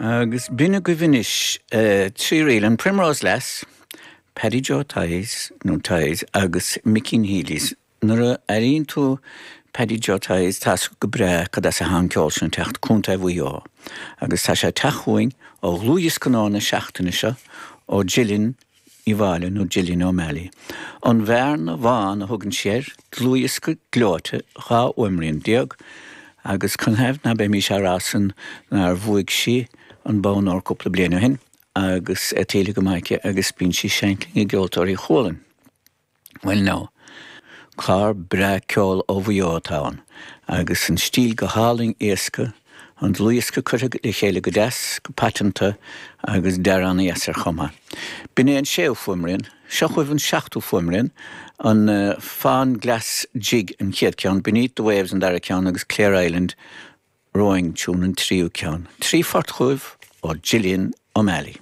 Agus b'in agaibh anois 3 ríl, an Primrose Lass, Paddy Joe Tighes, nó Tighes, agus Mickeen Healy's. Nuair a airíonn tú Paddy Joe Tighes, tá's agat go breá cad as atá an ceol sin ag teacht, Contae Mhaigh Eo. Agus tá sé ag teacht chugainn ó dhlúthdhiosca nua na seachtaine seo, ó Gillian Ní Mháille nó Gillian O'Malley. An Bhearna Bhán a thugann sí air, dlúthdhiosca gleoite, 12 fhuaimrian, agus canathaobh ná beimís á rá san nár bhuaigh sí an bonn óir cúpla bliain ó shin agus é tuillte go maith aici agus bíonn sí ag seinnt linn i gCeoltóirí Chualann. Bhuel now, clár breá ceoil ó Mhaigh Eo atá ann, agus an stíl go hálainn éasca, an dlúthdhiosca curtha le chéile go deas, go paiteanta, agus dearadh ana-dheas air chomh maith. B'in é an séú fuaimrian. Seo chugaibh an seachtú fuaimrian, an Fonn Glas Jig an chéad ceann, Beneath the Waves an dara ceann agus Clare Island Rowing Tune an tríú ceann. 3 phort chugaibh ó Gillian O'Malley.